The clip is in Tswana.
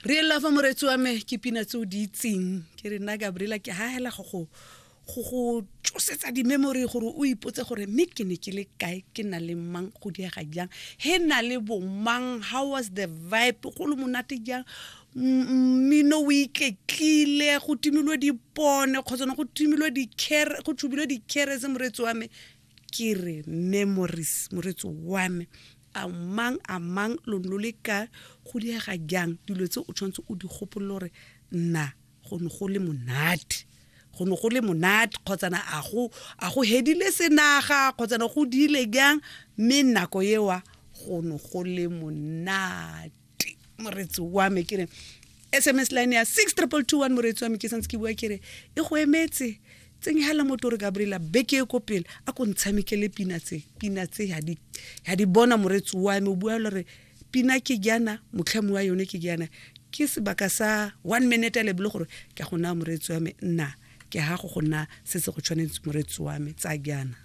Re ela fa moreetsi wa me ke pina tse o di itseng. Ke re nna Gabriela ke hahela go go go go tsosetsa di-memory gore o ipotse gore mme ke ne ke le kae, ke na le mang, go diega jang, he na le bomang, how was the vibe, go le monate jang, mmino o iketlile, go timilwe dipone kgotsa go timilwe dikhere, go tshubilwe dikherese moreetsi wa me. Ke re memories moreetsi wa me, a mang a mang lo ne lo le kae, go diega jang, dilo tse o tshwanetse o di gopolole gore nna go ne go le monate, go ne go le monate kgotsana a go a go hedile senaga kgotsana go diile jang, mme nako ewa go ne go le monate moreetsi wa me. Ke re SMS line ya 62221 moreetsi wa me, ke santse ke bua ke re e go emetse, tsenyegela motho re Gabriela beke e ko pele a ko ntshamekele pina tse, pina tse ya di ya di bona moreetsi wa me. O bua le re pina ke jana, motlhami wa yone ke jana, ke sebaka sa 1 minute a lebile gore ke go naya moreetsi wa me, nna ke ha go go nna se se go tshwanetse moreetsi wa me tsa jana.